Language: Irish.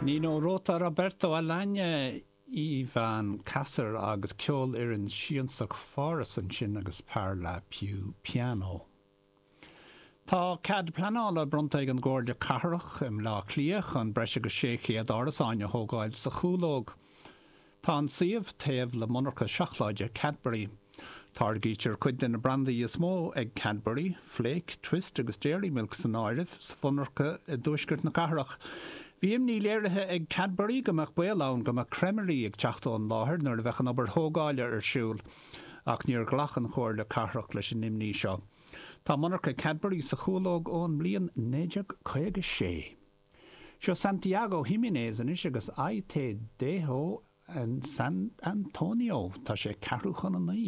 Nino Rota, Roberto Alagna, Ivan Kasser agus Ceolfhoireann Siansach Pháras ansin agus Parla Più Piano. Tá cead pleanála bronnta ag an gComhairle Cathrach i mBleá Cliath chun breis agus 600 árasáin a thógáil sa Chúlóg. Tá an suíomh taobh le monarcha seacláide Cadbury. Táirgítear cuid de na brandaí is mó ag Cadbury, Flake, Twist agus Dairy Milk san áireamh, sa mhonarcha i dtuaisceart na cathrach. Bhí imní léirithe ag Cadbury go mbeadh baol ann go mbeadh creimirí ag teacht ón láthair nuair a bheadh an obair thógála ar siúl, ach níor ghlac an Chomhairle Cathrach leis an imní seo. Tá monarcha Cadbury sa Chúlóg ón mbliain 1956. Seo Santiago Giménez anois agus Ahí Te Dejo en San Antonio. Tá sé ceathrú chun a naoi.